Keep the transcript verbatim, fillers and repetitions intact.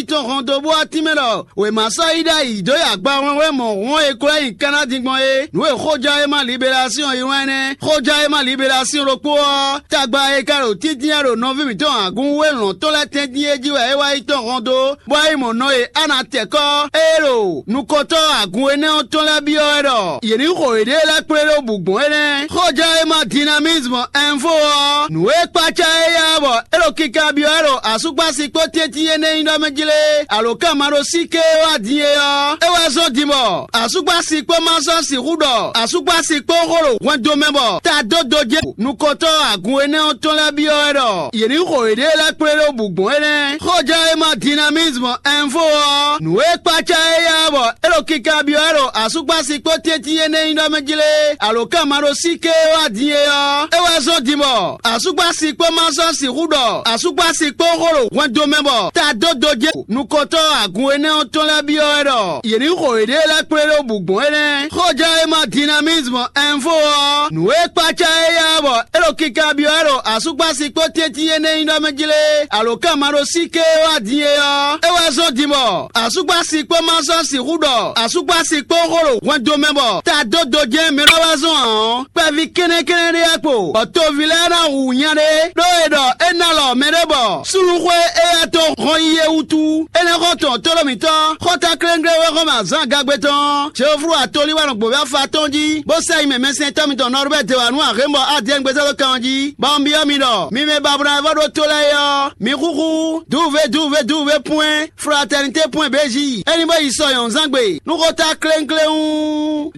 tɔn hɔn dó bó wá tínmɛ ɖɔ wěma sɔ́ yi ɖ'ayǐ dó yi agba hwlɛ́nhwlɛ́n mɔ̌ hɔn e klɛ́ nyi Kanadi gbɔn é. Nǔ e xójánwéma Liberasíɔn yi wlán énɛ́. Xójánwéma Liberasíɔn ɖokpó ɔ́, tagba e ka ɖo tíntín wɛ ɖo nɔví mǐtɔn Agun wú e lɔ̌n tɔn lɛ́ɛ tɛ́ntin é jí wɛ é wá yi tɔn hɔn dó, bɔ é yi mɔ nɔ e Ana tɛkɔ́, ée ɖo nukɔntɔ́ Agun énɛ́ ɔ́ tɔn lɛ́ɛ byɔ́ wɛ ɖɔ yě ní xo yěɖée lɛ́ɛ kplé ɖó bǔ gbɔn énɛ́. Xójánwéma Dinamisme Info ɔ́, nǔ e kpácá éyɛ́ ɔ́ bɔ é ɖo kinkanbyɔ́ wɛ ɖo asúkpási kpó tɛ́ntin énɛ́ nyí ɖɔ mɛ jí lé, alǒkanmaɖósíké e wá din é ɔ́, é wɛ zɔ́n din bɔ asúkpási kpó ma sɔ́ sixú ɖɔ asúkpási kpó xó ɖo hwɛndo mɛ bɔ ta dó dojé nukɔntɔ́ Agun énɛ́ ɔ́ tɔn lɛ́ɛ byɔ́ wɛ ɖɔ yě ní xo yěɖée lɛ́ɛ kplé ɖó bǔ gbɔn énɛ́. Xójánwéma Dinamisme Info ɔ́, nǔ e kpácá éyɛ́ ɔ́ bɔ é ɖo kinkanbyɔ́ wɛ ɖo asúkpási kpó tɛ́ntin énɛ́ nyí ɖɔ mɛ jí lé, alǒkanmaɖósíké e wá din é ɔ́, é wɛ zɔ́n din bɔ asúkpási kpó ma sɔ́ sixú ɖɔ asúkpási kpó xó ɖo hwɛndo mɛ bɔ ta dó dojé nukɔntɔ́ Agun énɛ́ ɔ́ tɔn lɛ́ɛ byɔ́ wɛ ɖɔ yě ní xo yěɖée lɛ́ɛ kplé ɖó bǔ gbɔn énɛ́. Xójánwéma Dinamisme Info ɔ́, nǔ e kpácá éyɛ́ ɔ́ bɔ é ɖo kinkanbyɔ́ wɛ ɖo asúkpási kpó tɛ́ntin énɛ́ nyí ɖɔ mɛ jí lé, alǒkanmaɖósíké e wá din é ɔ́, é wɛ zɔ́n din bɔ asúkpási kpó ma sɔ́ sixú ɖɔ asúkpási kpó xó ɖo hwɛndo mɛ bɔ ta dó dojɛ́n mɛ ɖɔ wá zɔ́n ǎ ɔ́, kpɛví kɛ́nnɛ́kɛ́nnɛ́ ɖé wá kpo, bɔ toví lɛ́ɛ ná hu nya ɖé, ɖó è ɖɔ é ná lɔ mɛ ɖé bɔ súnnuxwé éyɛ́ tɔn hɔn yi é wútu. Énɛ́ xɔ tɔn tóɖó mǐtɔn, xɔ́ta kléŋglé wɛ xɔ mɛ azǎn gagbe tɔn, Jehovu atolí wɛ nɔ gbǒví afa tɔn jí, bó sɛ nyi mɛ mɛsɛntɔ́ mitɔn Nɔrubɛ́ de wǎ nú Ahémbɔ Adiyɛ́n gbézɔ́ dó kan ɔ́ jí, bɔ un byɔ́ mi ɖɔ mi mɛ babuna e vɔ ɖó tó lɛ́ɛ é ɔ́, mi xúxú dǔvě dǔvě dǔvě pwɛ́n fraternité pwɛ́n bějí, é ní bó yi sɔ nyɔ̌nzán gbe nú xɔ́ta kléŋkléŋ.